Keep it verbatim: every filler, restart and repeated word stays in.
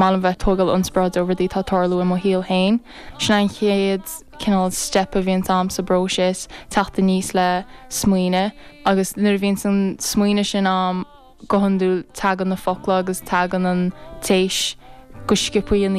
maith liom bheith tógáil inspioráid ó rudaí atá ag tarlú i mo shaol féin. Sin an chéad cineál step a bhíonn agam sa bpróiseas teacht aníos le smaoineamh agus nuair a bhíonn an smaoineamh sin agam go hiondúil tagann na focla agus tagann an téis go sciobtha.